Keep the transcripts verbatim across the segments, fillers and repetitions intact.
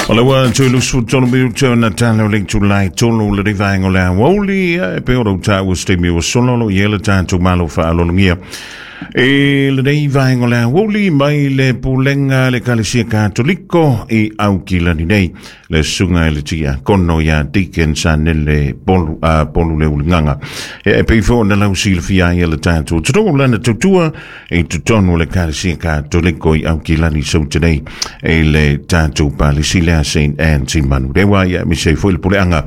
O le ua tui lusu tolu minuta na tala o le tulai tolu le rivaenga o le aoauli e pe ora uta ua stemi ua solo lo i ele tātou malo whaalolongia. E lenei vaenga o le aoauli mai le pulenga le Kalesia Katoliko i Aukilani nei. Le sunga e le tia kono ia Deacon Sanele Polu, uh, Polu le ulingaga. E, e pei fo na lau silafia ai le tātou tonu lana tautua e totonu le Kalesia Katoliko i Aukilani saute nei e le tātou palisi lea Saint Anne Manurewa ia mise foi le puleanga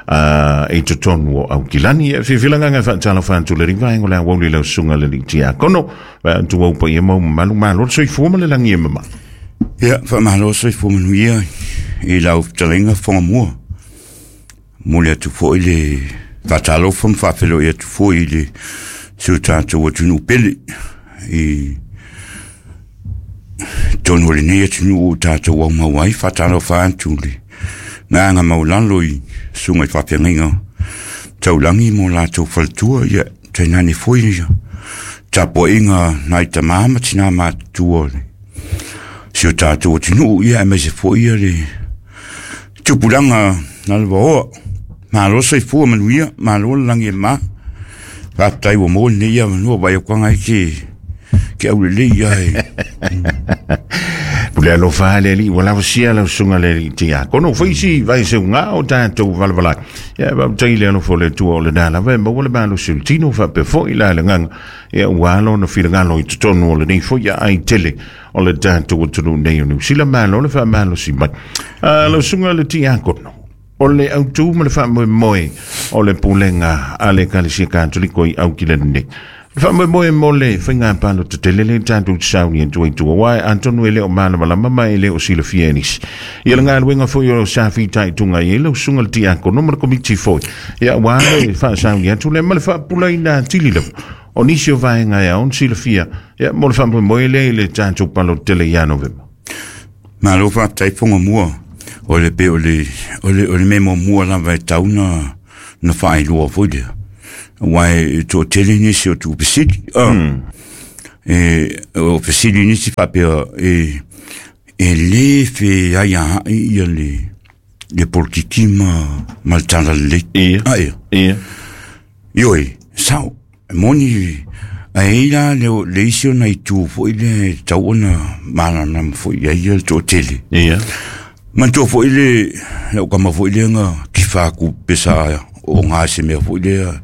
uh, e totonu o Aukilani. E whiwhilanga ngā whaatala whaatu le rivaenga o le aoauli lau sunga le tia kono. Wa atu au pa ia mau malu malo soifua ma le langi e mama. Ia, whaamalo soifua manuia i lau talenga whanga mua. Mole atu fo i le whaatalofa mwhawhelo i atu fo i le sio tātou atunu pele i tonu le nei atunu o tātou au mauai whaatalofa atu le ngā maulalo i sunga i whawhenginga taulangi mo lātou whalatua ia tainane foi ia tapo inga nai tamama tina mātua le sio tātou atunu ia e mese fo ia le tupulanga na le vaoa malo soifua manuia malo le langi e mā faafetai ua maua lenei avanua vai akuaga ai ke ke aulelei ia e Pule alofa le li wala sia la sunga le tia kono faisi vai se nga o tātou valavala ia va tai le alofa le tua o le dala va ma wala malo sultino fa pe fo ila le nganga ia walo no filangalo i totonu o le nei fo ia ai tele o le tātou tonu nei o New Zealand malo le fa malo si mai la sunga le tia kono o le autu ma le fa moe moe o le pulenga a le Kalesia Katoliko i Aukilani nei. Fa mo mo mo le whainga palo te te lele tātou sauni e tui tua wai Antonu ele o mana malama mai ele o sila fianis. Ia le ngā luenga foi o sa whitai tunga i ele o sunga le tiako no mara komiti foi. Ia wā le wha sauni atu le ma le wha pula ina tili lewa. O nisi o vaenga ia on sila fia. Ia mo le wha mo mo ele le tātou palo te le ia Novemba. Malo wha taifonga mua o le pe o le o le o le memo mua lava e tauna na whailua foi lea. Wai to tele nisi o tu pesili mm. E o pesili nisi whapea e e le fe ai a ia le le politiki ma ma le tala le ia a ia ia ioi sao moni a ila le le isi ona i tu foi le tau ona malana foi ia ia le to tele ia man to foi le le o kama foi le nga ki whaku pesa o ngā se mea foi le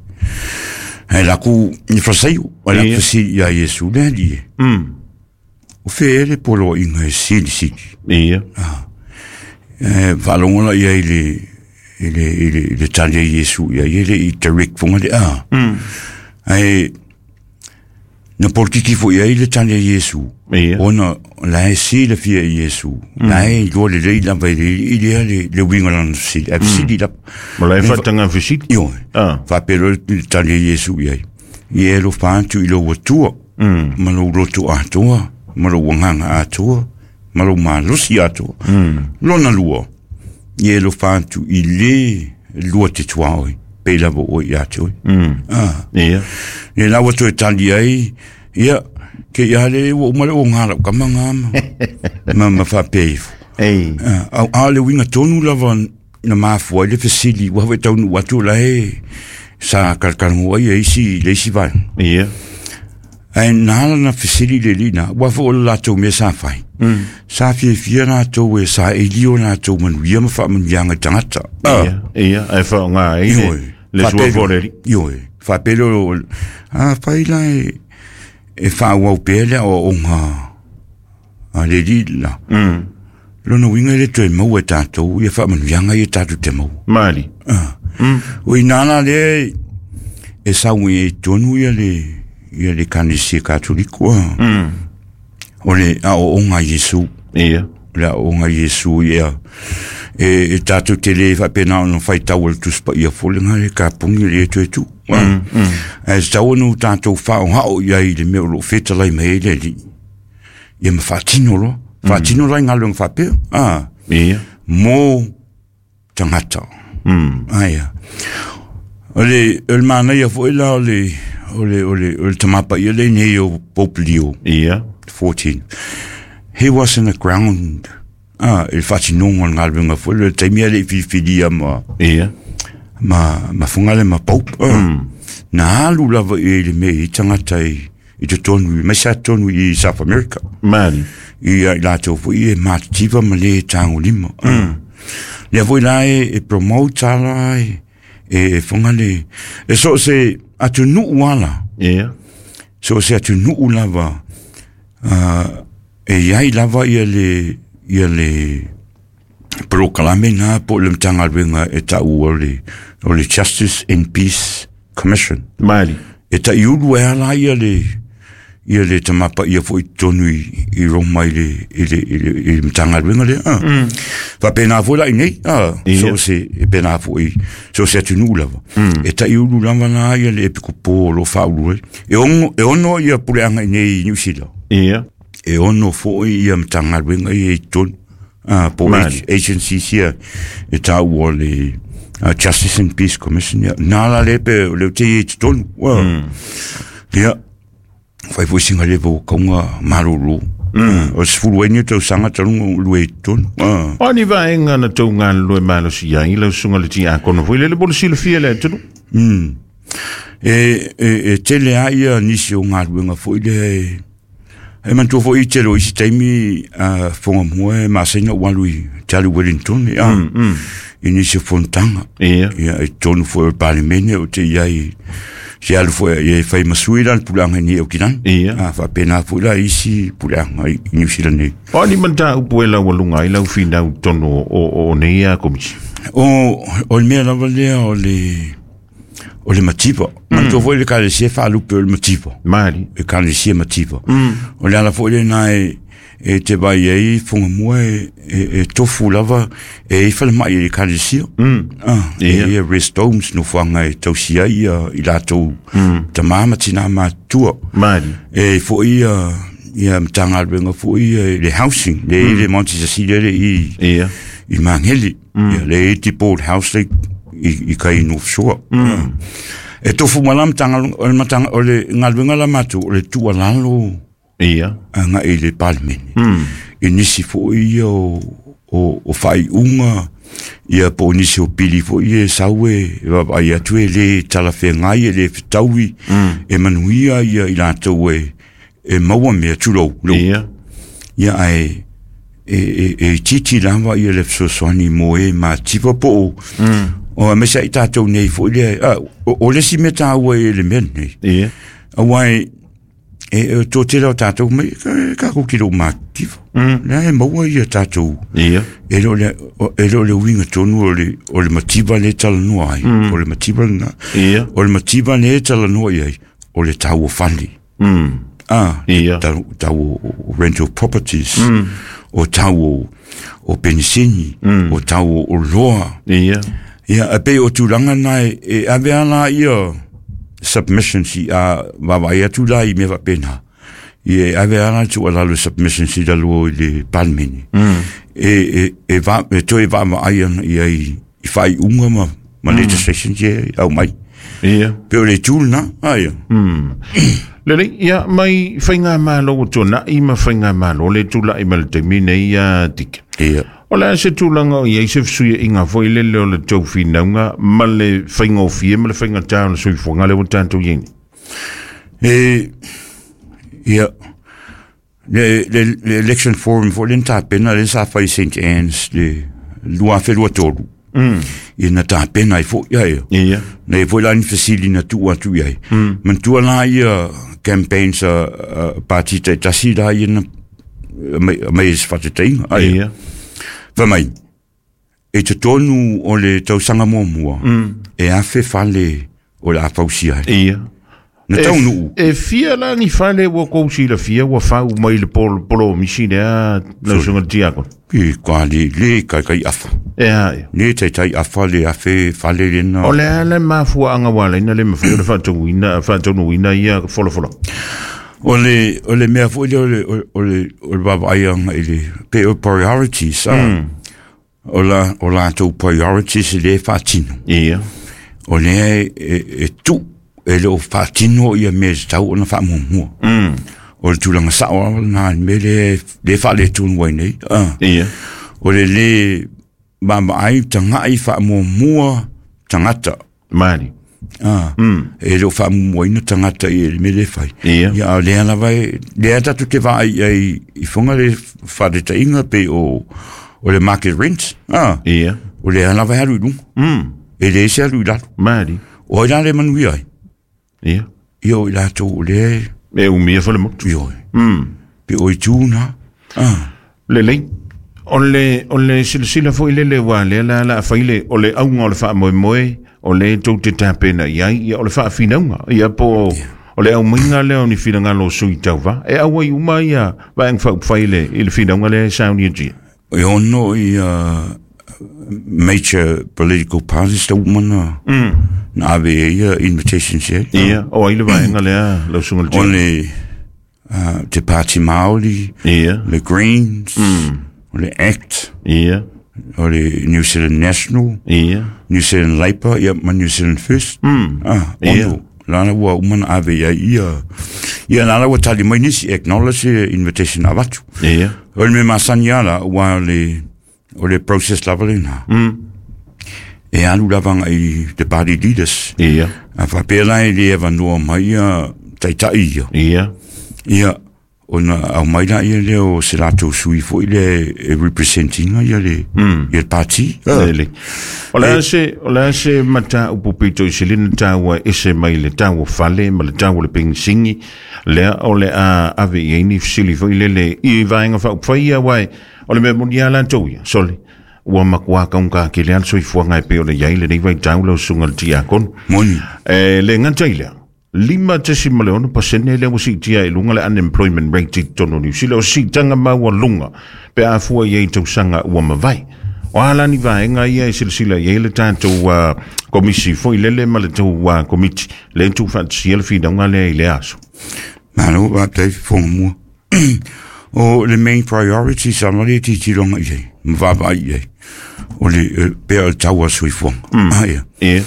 He laku ni fasaiu, a laku si ia Yesu le li. Mm. O fe ele polo inga sili sili. Ia. Ah. E valongola ia i le i le i le le tali Yesu ia i le i Tarek fonga le a. Mm. Ai na politiki fo ia i le tali Yesu. Ia. Ona la e si le fia Yesu. La e lo le le la vai i le le le winga lan si. A sili la. Ma la e fatanga fisili. Io. Ah. Fa pelo le tali Yesu ia. I e lo fantu i lo watua. Mm. Ma lo lotu atoa, ma lo wanganga atoa, ma lo malosi atoa. Mm. Lona lua. I e lo fantu i le lua te tuaoi. Pe lava o i atoa. Mm. Ah. Ia. Le lawa toe tali ai, ia, ke ia le ua umale o ngā lau kama ngā ma. Ma ma whapeifu. Ei. A, a le winga tonu lava na mafua i le fesili, ua hawe taunu atu la e sa kalkalangua ia isi, le isi vai. Ia. Ai nā na fesili le lina, ua fo o le lātou mea sa whai. Mm. Sa fia fia lātou e sa elio lātou manuia ma wha manuianga tangata. Ia, ia, ai wha ngā e le, le sua foreri. Ioi, whapelo, a whai la e, e wha pea lea o o ngā a le li la. Mm. Lona winga le toe mau e tātou, ia wha manuianga ia tātou te mau. Mali. Ah. Mm. O i nāna le e sau e tonu ia le ia le Kalesia Katoliko. Mm. O le a o ngā Yesu. Ia. Le a o ngā Yesu ia. E, e tātou te le whapena ono whai tau le tuspa ia fole ngā le kapungi le e toe tu. Mm, mm. E tau ono tātou whao hao ia i le mea o lo whetalai me e le li. Ia ma whātino lo. Whātino lai ngā lunga whapea. Ah. Ia. Mō tangata. Mm. Aia. O le, o le mana ia fo ila o le, o le, o le, o le tamapa ia le nei o Pope Leo. Ia. fourteen. He was in the ground. Ah, e faatinoga o le galuega foi le taimi a le'i filifilia ma Ia. ma ma fogale ma Pope mm. Na alu lava i le mea i tagata i i totonu i mai sa totonu i South America Mali. I i latou foi e matitiva ma le tagolima mm. Lea foi la e, e promote ala e, e fogale e so se atunuu ala. Ia. So se atunuu lava uh, e iai lava ia le ia le polokalame na po le Matagaluega e ta'u o le o le Justice and Peace Commission. Mali. E ta'iulu e ala ia le ia le tamapaia fo'i totonu i, i Roma i le i le i le, i le Matagaluega lea ah. Mm. Faapena foi la i nei ah, Ia. so se e pena fo'i so se atunuu lava mm. E ta'iulu lava la ia le epikopo o lo fa'aulu ai e ono e ono ia puleaga i nei i Niu Sila. Ia. E ono fo'i ia Matagaluega ia i totonu ah, po Mali. Agencies ia e ta'u o le uh, Justice and Peace Commission ia nā la le pe o le te i totonu mm. Ia fai foi singa le vo kaunga malolo mm. O se fulu ai ni tausaga taluga lue i totonu ah. O ni vaega na tou galulue malosi ai lau susuga le tiakono foi lele mo le silafia le atunuu. Mm. E, e, e tele a ia nisi o galuega foi lea e e manatua foi i tele o isi taimi a fogamua e masaina ua alu i te alu Wellington a mm, mm. I nisi o fonotaga. Ia. Ia e totonu foi o le Palemene o te iai se alu foi e fai masui la le puleaga i nei Aukilani. Ia. A faapena foi la isi puleaga i i Niu Sila nei. O ni mataupu e laualuga ai lau finau tonu o, o, o nei a komisi. O o le mea lava lea o le o le mativa manatua foi le ekalesia e faalupe o le mativa. Mali. E ekalesia mativa mm. O le ala foi lenā e e te vai ai fogamua e, e, e tofu lava e i falema'i e le ekalesia mm. Ah, e Ia. ia rest homes nofoaga e tausi ai ia i latou mm. Tamā ma tinā matutua. Mali. E fo'i ia ia Matagaluega fo'i ia i le housing le mm. I le Monte Cecilia le i Ia. i Mageli mm. Ia le eighty board house le i, i kai North Shore mm. E tofu ma la Matagaluega o le Matanga o le galuega la matou o le tuualalo Ia. aga'i i le Palemene mm. I nisi fo'i ia o, o, o fa'ai'uga ia po o nisi o pili fo'i e sau e vaavaai atu e lē talafeagai e lē fetaui mm. E manuia ia i latou e e maua mea tulou lou. Ia. Ia ae e e e titi lava ia le fesoasoani mo e mativa po o mm. O a mesa i tātou nei foi lea ah, o, o le isi mea tāua e le mea lenei. Ia. Auā e e e tō tele o tātou mai ka, ka ko ki lou mativa mm. Lea e maua ia tātou. Ia. E le o le o- e le o le uiga tonu o le o le mativa le talanoa ai mm. O le mativa lena. Ia. O le mativa le talanoa i ai o le tau o fale. Mm. Ah, Ia. tau, tau o, o rental properties mm. O tau o, o penisini mm. O tau o, o loa. Ia. Ia, e pei o tulaga na e, e ave ala ia submissions i a vavaai atu la i mea faapena. Ia e ave ala tuualalo submissions i lalo i le Palemene. Mm. E, e, e, va, e toe vaavaai ana ia i, i faaiuga ma, ma mm. legislations ia e aumai. Ia. Pe o le itu lena, aia. Mm. Lelei, ia mai faiga malo o tuana'i ma faiga malo le tula'i ma le taimi nei ia tika. Ia. O le a se tulaga o iai se fesuia'iga foi lele o le tou finauga ma le faigofie ma le faigatā o le soifuaga le ua tatou iai nei. E, ia, le, le, le election forum foi le na tapena le sa fai i Saint Anne's le lua afe lua tolu. Mm. Ia na tapena ai foi ia ia. Ia. Na e foi la ni fesili na tuu atu i ai. Mm. Manatua la ia campaigns a, a pati taitasi la ia na mai, mai e se fatetaiga. Ai. Ia. Fai mai, e totonu o le tausaga muamua, mm. E afe fale o le a fausia ai. Ia. Na taunuu. E fia la ni fale ua kou silafia ua fau mai le polo, polo misi lea lau susuga le tiakono. I ka le, le kai kai afa. E a ia. Le taitai afa le afe fale lena. O le a le mafuaaga ua alaina le mafai ona faatauina faataunuina ia folafola. O le, o le mea foi lea o le, o le, o le vaavaai aga i le pe o priorities, ah. Mm. O la, o latou priorities e lē faatino. Ia. O lea e, e, e tuu e le o faatino ia mea e tatau ona faamuamua. Mm. O le tulaga sa'o lava lenā le mea lea le faaletonu ai nei. Ah. Ia. O le le maamaai taga'i faamuamua tagata mali ah e le o faamuamuaina tagata i le mea lē fai Ia. ia a o lea lava e lea tatou te vaai ai i foga le faataitaiga pe o o le market rent ah Ia. o lea lava e alu i luga Mm. e lē se alu i lalo Mali. o ai la le manuia ai Ia. ia o i latou o lea E umia fo le motu. ioe Mm. pe o i tū na ah Lelei. O le, o le silasila foi lele ua lea la la fai le, o le auga o le faamoemoe, o le tou te tapena i ai, ia o le faafinauga, ia po o le aumaiga lea o ni finagalo o sui tauva. E auai uma ia vaega faaupufai le, i le finauga lea e saunia. E ono ia major political parties ta uma na Mm. na ave e ia invitations e Ia, o ai le vaega lea, lau susuga le o tia. le uh, te Pāti Māori Ia, le Greens mm. o le ACT ia, o le New Zealand National ia. New Zealand Labour ia ma New Zealand First Mm. ah Ia. ono lana ua uma na ave ia ia ia lana ua tali mai nisi acknowledge invitation avatu Ia. o le mea masani ala ua le o le process lava lena Mm. e alu lava i the party leaders Ia. a faapea la e le avanoa mai ia taita'i ia Ia. ia ona au mai la ia lea o se latou sui foi le e representinga ia le Mm. ia le party Lele. O le a se, o le a se mataupu pito i selina taua ese mai le taua fale ma le taua le pensingi, lea o le a ave i ai ni fesili foi lele i vaega faaupufai ia uae o le mea moni a latou ia, sole. Ua makuā kaugata kele a le soifuaga e pei o le iai lenei vaitau lau susuga le tiakono. Moni E le gata i lea, lima tesima le ono pasene lea ua siitia i luga le unemployment rate i totonu o Niu Sila, o siitaga maualuga pe afua i ai tausaga ua mavae. O a lani vaega ia e silasila i ai le tatou uh, komisi foi lele ma le tou uh, komiti le tuufaatasia le finauga lea i le aso. Malo faafetai fofoga mua o le main priority sa ma le titiloga i ai ma vaavaai i ai o le eh, pea o le tau a soifuaga ah ia Ia,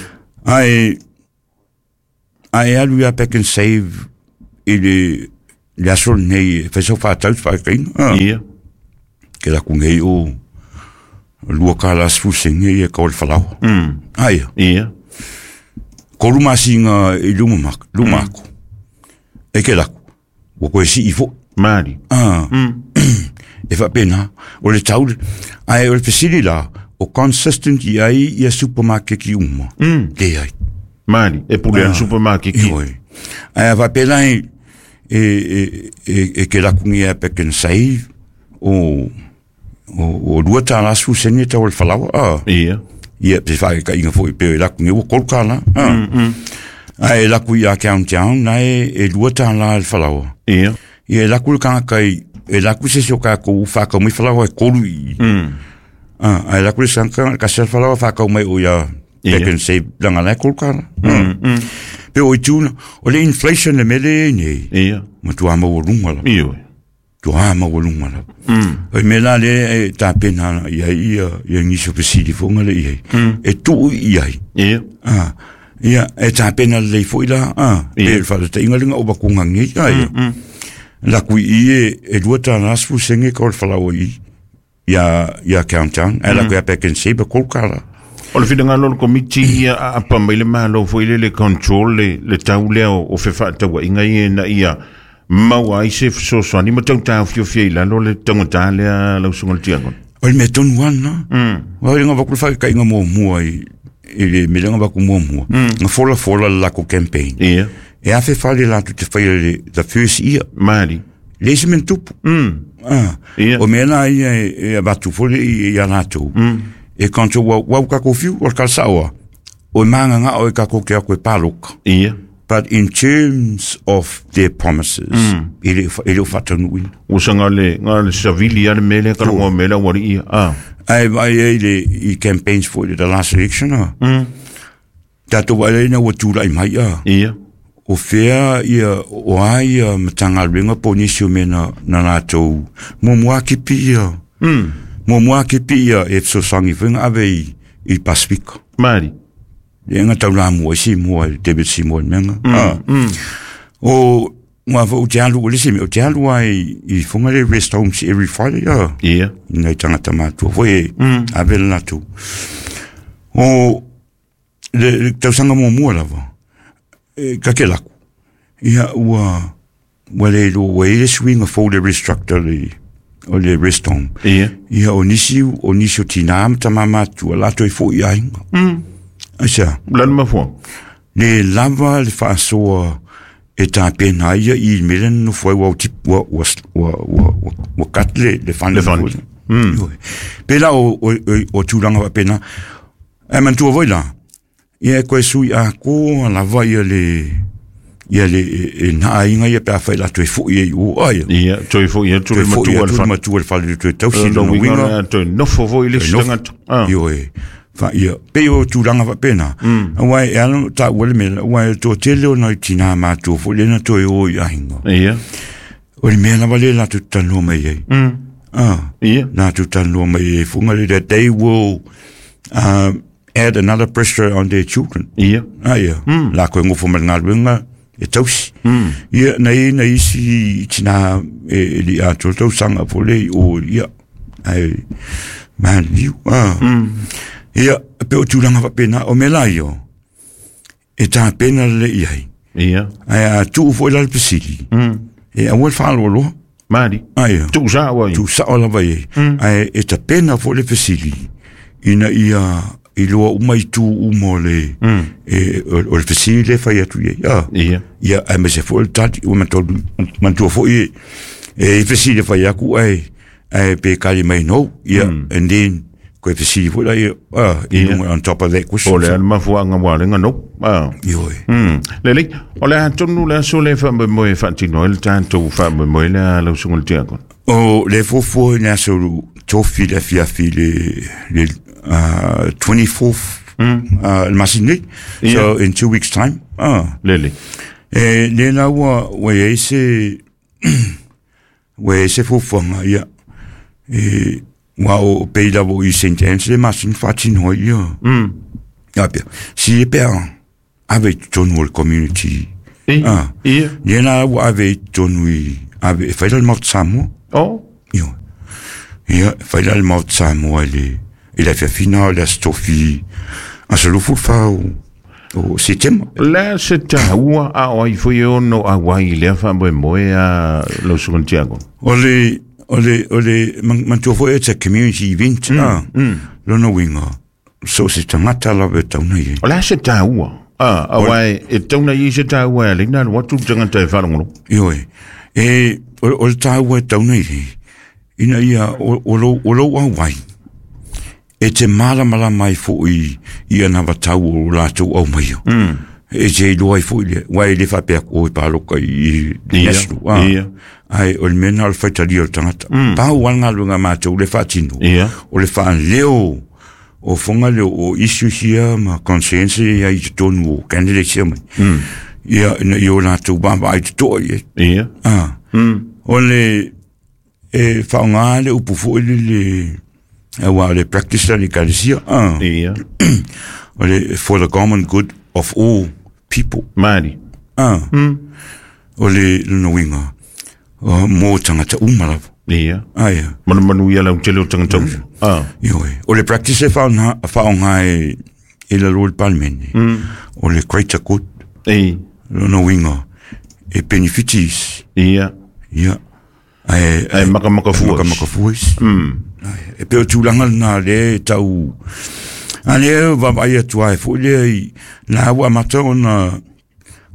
ae ae alu ia Pack and Save i le le aso lenei e fai sau faatau se faakaina ah ia, ke laku nei o lua kala sefulu sene ia ka o le falaoa mm, ah ia ia, kolu masina i luma mak luma aku e ke laku ua koe sii fo'i mali, ah mm, e faapena o le tau ae o le fesili la o consistent i ai ia supermarket uma mm, leai mali, e pule ana supermarket ki. Ioe. Ae a faapena e e e e, e ke laku ia Pack and Save o o o lua tāla sefulu sene tau o le falaoa ah Ia, ia pe faakaiga foi pe e laku ua kolu kālā ah mm, mm, ae e laku ia Countdown na e e lua tālā le falaoa ia, ia e laku le kanaka i e laku se isi o kākou whakau mai falaoa e kolu i mm, ah ae laku le sanka ka se falaoa whakau mai o ia Ia. Pack and Save langa la e kolu kālā mm, mm, pe o i tūna o le inflation le mele e nei ia, ma tua maualuga lava ioe, tua maualuga lava mm, o i mea la lea e tapena ia ia ia nisi o fesili foga le i ai mm, e tuu i ai ia, ah ia e tapena lelei fo'i la ah Ia. pe le faataitaiga lega o vakuga nei ah ia mm, laku i e e lua tālā sefulu sene ka o le falaoa i ia ia Countdown ae laku ia Pack and Save e kolu kālā O le finagalo o le komiti ia a apa mai le malo foi le le control le, le tau lea o, o fefaatauaiga ia ina ia maua ai se fesoasoani ma tautaofiofia i lalo le taugata lea lau susuga le tiakono. O le mea tonu ana Mm. Wa le ngava ku faakaitaiga muamua i i le mea le ngava ku muamua nga folafola le lako campaign Ia, e afe fale latou te faia le the first year mali. le isi mea na tupu Mm. ah Ia. o mea la ia e e avatu foi le i ia latou Mm. e kanto ua ua kākou fiu o le kalasaʻoa o e magagaʻo e kākou ke aku e paloka Ia. but in terms of their promises mm. e le e le o faataunuuina Ua saga le, ga le savili a le mea lea kalagoa mea lea ua alii ia. Ah. ae vaai ai le i campaigns foi le the last election a Mm. tatou vaai ai na ua tulaʻi mai a Ia. o fea ia o a ia matagaluega po o nisi o mea na, na latou muamua kipi ia Mm. muamua kipi ia e fesoasoani foi ga ave i i Pasifika Mali. le ga taulamua ai Samoa i le David Samoa i le mea ga Mm. ah. Mm. O Ua fo te alu o le simi o te alu ai i fonga le rest homes every Friday ah. Ia. Nei tangata matua foi e ave le latou. O le, le tausaga muamua lava e kake laku. Ia ua ua le lo ua i le suiga fou le restructure le o le rest home. Ia. Ia o nisi o nisi o tina ma tama matua latou e fo'i aiga. Mm. Aisa. Lana mafua. Le lava le faasoa e tapena ai ia i mea lea na nofo ai ua tip ua ua ua ua ua cut le le fund. Le fund. Mm. Pe la o o o tulaga faapena. Ae manatua foi la ia e koe sui atoa lava ia le ia le e na aiga ia pe afai latou e fo'i ai o ai. Ia, toe fo'i atu le matua o le fale. Matua le fale toe tausi lona lona uiga uiga. Toe nofo foi le isi tagata. Ah. Ioe. Fa ia pe o tulaga faapena. Aua e ala ona taua le mea aua e toatele ona i tinā matua foi lea na toe o i aiga. Ia. O le mea lava lea latou te talanoa mai ai. Mm. Ah. Ia. Latou talanoa mai ai fuga le that they will uh, add another pressure on their children. Ia. Ah, ia. Mm. La koe ngofo ma le galuega e tausi. Mm. Ia, na i na isi i tina e, e li atoa tausaga fo le i o ia. Ai, man, liu. Ah. Mm. Ia, pe o tulaga faapena, o mea la ia, e tapena lelei i ai. Ia. Ae a tuu foi la le fesili, Mm. e aua le faaloaloa. Mali. Ai, Tuu sao ai. tuu sao lava i ai. Mm. Ae e tapena foi le fesili, ina ia i loa uma i tu uma o le, Mm. e, o, o le fesili le fai atu i ai. Ah. Ia. Ia, ae maise foi le tali, ua mantolu, mantua foi e, e i fesili fai aku, ae, ae pe kali mai no, ia, Mm. and then, koe fesili foi la, ia, ah, i Ia. lunga on top of that question. O le ana mafuaga ua alega no. Ah. Ioe. Mm. Lelei, o le atonu le aso le faamoemoe e faatino ai le tatou faamoemoe le a lau susuga i le tiakono. O le fuafua i le aso tofi le afiafi le, le uh, twenty-fourth Mm. uh, le masina nei. Ia. So in two weeks time. Ah. Lelei. E le la ua, ua i ai se, ua i ai se fuafuaga, ia. E, ua o pei lava o i Saint Anne's le masina faatino ai ia. Mm. Ia pea. Si e pea, ave i totonu o le community. I, Ah. ia. Lea la ua ave i totonu i, ave, e fai la le Maota Samoa. O. Ioe. Ia, e fai la le Maota Samoa i le, i le afiafina o le aso tofi, aso lufu fa o, o Setema. La se taua a o ai foi e ono auai i lea faamoemoe a lau susuga i le tiakono. O le, o le, o le, man- manatua foi it's a community event, mm, ah. Mm. Lona uiga, so se tagata lava e tauna i ai. O le a se taua. Ah, auai e tauna i se taua e alei na alu atu le tagata e faalogologo. Ioe. E, o, o le taua e tauna i ai, ina ia, o, o lou, o lou auai, e te malamalama ai foi i ana vatau o latou aumaia. Mm. E te iloa ai foi lea, ua e le faapea atu o e paloka i, i Ia, national. Ah. ia. Ai, o le mea na o le faitalia o le tagata. Mm. Pau a le galuega a matou le faatino. Ia. O le faaleo o foga leo o issues ia ma concerns ia i totonu o candidates ia mai. Mm. Ia, ina ia o latou vaavaai totoa i ai. Ia. Ah. Mm. O le e faaaoga le upu foi le le aua o le practice a le ekalesia. Ah. Ia. O le for the common good of all people. Mali. Ah. Mm. O le lona uiga o, mo tagata uma lava. Ia. Ah, ia. Manumanu ia lau tele o tagata uma. Ah. Ioe. O le practice e faaaoga faaaoga e e lalo i le palemene. Mm. O le greater good. E. Lona uiga e benefitis. Ia. Ia. Ae Ae makamaka fua. Makamaka fua isi. Mm. E pei o tulaga lena lea e tau a lea vaavaai atu ai foi lea i la ua amata ona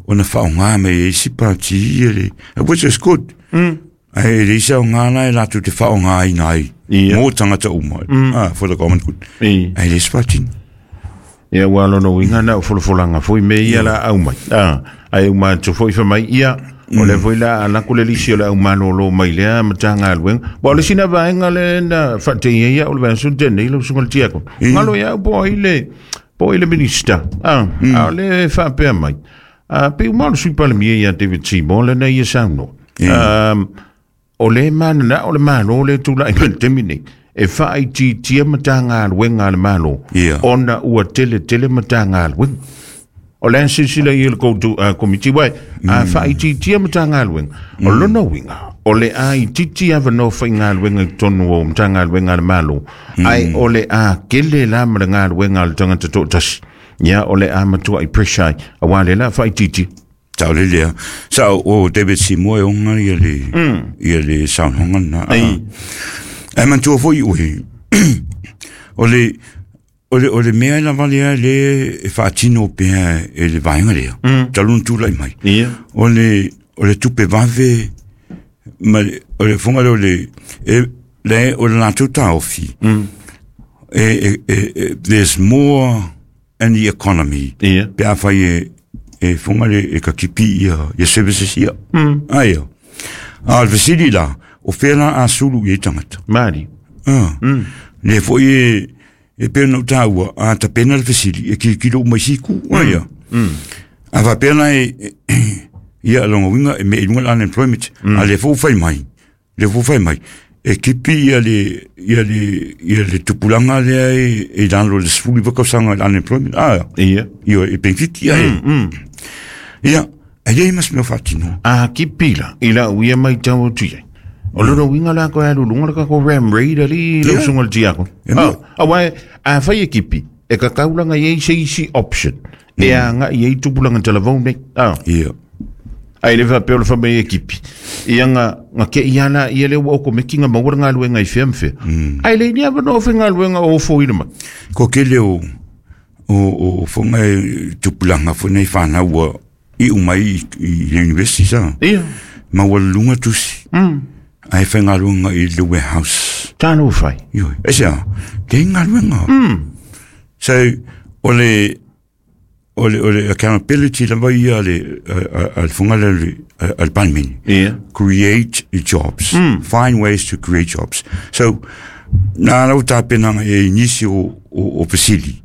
ona faaaoga mai ai isi pati ia le which is good. Mm. Ae e leai se aoga la e latou te faaaogaina ai Ia. mo tagata uma. Mm. Ah, for the common good. E. Ae le se faatino. Ia ua lona uiga na o folafolaga foi me ia la au mai. Ah, ae uma atu foi fai mai ia o le foi la alako le lisi o le aumalōlō mai lea Matagaluega. Ua o le sina vaega le na faateia ia o le vaiaso tenei lau susuga i le tiakono. Galo ia au po ai le po ai le minista. Ah, a o le faapea mai. Ah, pe uma o le sui palemia ia David Seymour lena ia saunoa. Um, o le manana o le malo le tula'i mai le taimi nei e faaitiitia Matagaluega a le Malo Ia. ona ua tele tele Matagaluega. O le silasila i le koutou komiti wai a faaitiitia Matagaluega. O lona uiga o le a itiiti avanoa faigaluega i totonu o Matagaluega a le Malo, ae o le a kele la ma le galuega a le tagata toatasi. Ia o le a matuai pressure ai auā le la faaitiitia. Tau le lea. Sa o David Seymour e onga ia le ia le saunoaga lena. Ae manatua foi oe o le o le o le mea lava lea le e faatino pea e le vaega lea. Talu ona tulai mai. O le o le tupe vave ma le o le foga lea o le e le o le latou taofi. E, e, e, there's more in the economy. Pe a fai e e foga le e ka kipi ia ia services ia. Ai. A le fesili la o fea la a sulu i tagata. Mali. Ah. Le foi e e pe no taua a tapena le fesili e ki kilo mai siku ai. A va pena e ia longa winga e me lunga unemployment a le fo fai mai. Le fo fai mai. E kipi ia le ia le ia le tupulanga le e e dans le sfuli vakosanga unemployment. Ah. Ia. Ia e penfiti ia. Ia e le mas me fatino. A kipi la ila uia mai tau atu ai. O lona uiga la koe alu luga le kako ram raider li lau susuga le tiakono. A uae a fai e kipi e kakaulaga i ai se isi option e agaʻi ai tupulaga talavou nei. A Ia. Ae le faapea o le faamai e kipi ia ga ga keʻi a laia lea ua okomeki ga maua le galuega i fea ma fea. Ae leai ni avanoa faigaluega o ofoina mai. Ko kele o o o fonga e tupulaga foi nei fanau ua iu mai i le university sa. Ia. Ma ua luga tusi. Ae faigaluega i le warehouse. Talo fai. Ioe. E se a, leai galuega. So, o le o le o le accountability lava ia a le a le foga le a le Palemene. Ia. Create jobs. Find ways to create jobs. So, na lau tapenaga e i nisi o o o fesili.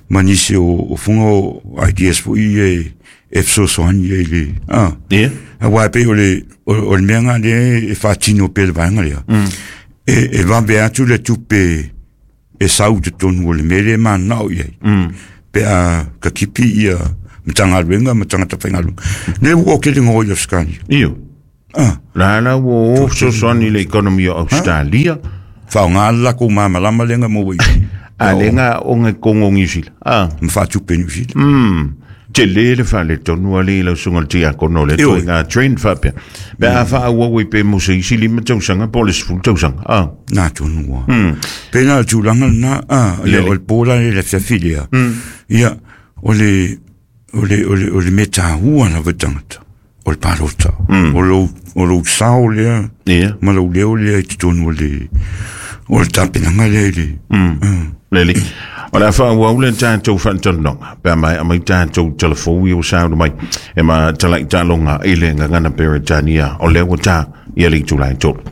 Ma nisi o o foga o ideas foi e e fesoasoani ai le ah. Ia. Auā e pei o le o le mea lea e faatino pea le vaega lea. E e vave atu le tupe e sau i totonu o le mea lea e mananao i ai. Pe a ka kipi ia Matagaluega ma tagata faigaluega. Lea ua o kele ngoi i Australia. Io. Ah. La la ua o fesoasoani i le economy o Australia. Faaaoga le lakou malamalama lea na maua i A le ga o ga kongo Niu Sila. Ah. Ma faatupe Niu Sila. Mm. Tele le faaletonu alii lau susuga le tiakono le toaiga trend faapea. Pe a faaauau ai pe mo se isi lima tausaga po o le sefulu tausaga. Ah. Na tonu ua. Pe na o le tulaga lena, ah, ia o le po la le afiafi lea. Ia, o le, o le, o le, o le mea taua lava i tagata, o le palota. O lou, o lou sao lea, ma lou leo lea i totonu o le, o le tapenaga lea i le. Lele. O le a faaauau le tatou faatalanoaga pe a maea mai tatou telefou ia ua sauna mai e ma talai taaloga i le gagana Peretania o lea ua tā ia le itula e tolu.